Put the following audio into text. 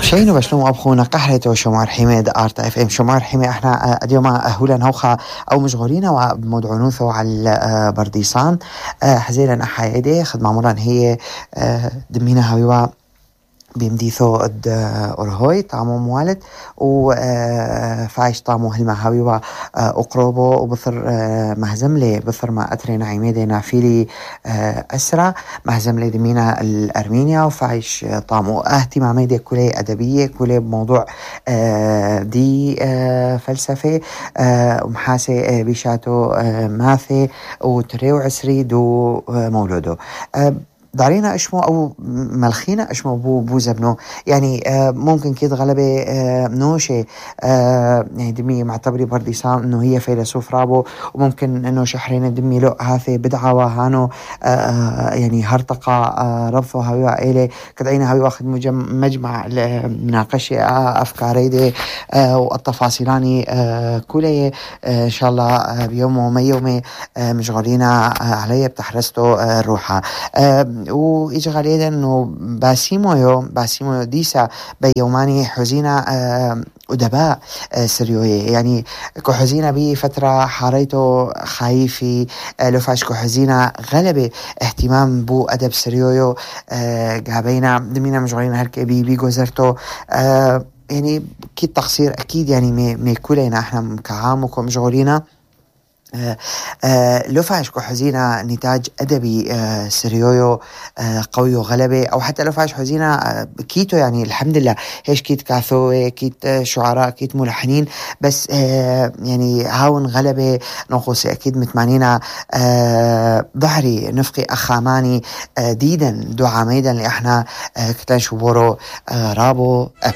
شينو بشلوم أبخونا قحرته شمار حميد آرت اف ام شمار حمي احنا اليوم هولا نوخا او مشغولين ومدعونوثو على برديسان حزيلا احايدي خدمة مران هي دمينا هاويوا بيمديثو اد أورهوي طعمو موالد وفايش طعمو هلما هاويوا أقربو وبثر مهزملي بثر ما أتري نعيميدي نافيلي أسرع مهزملي دمينا الأرمينيا وفايش طعمو اهتماميدي كلي أدبية كلي بموضوع دي فلسفة ومحاسي بيشاتو ماثي وتريو عسري دو مولودو دارينا اشمو او ملخينا اشمو بو زبنو يعني ممكن كده غلبة نوشة يعني دمي معتبري برديسان انه هي فيلسوف رابو وممكن انه شحرين دمي لو هاثي بدعة وهانو يعني هرطقة ربثو هاوي عائلة كدعينا هاوي واخد مجمع مناقشة افكاري دي والتفاصيلاني كلية ان شاء الله بيوم وما يومي مشغولين علي بتحرستو روحها وإيجا غاليدا إنه باسيمو ديسا بيوماني حزينة أدباء سريوية يعني كو حزينة بي فترة حاريتو خايفي لفاش كو حزينة غلبة اهتمام بو أدب سريويو قابينا دمينا مشغولين هالكي بي جوزرتو يعني كي تقصير أكيد يعني مي كلنا احنا كعام وكو مشغولين لفاش كو حزينة نتاج أدبي سريويو قوي وغلبة أو حتى لفاش حزينة كيتو يعني الحمد لله هيش كيت كاثوي كيت شعراء كيت ملحنين بس يعني هاون غلبة نقصي أكيد متمانينا ظهري نفقي أخاماني ديدا دعاميدا اللي احنا كتان شبورو رابو أب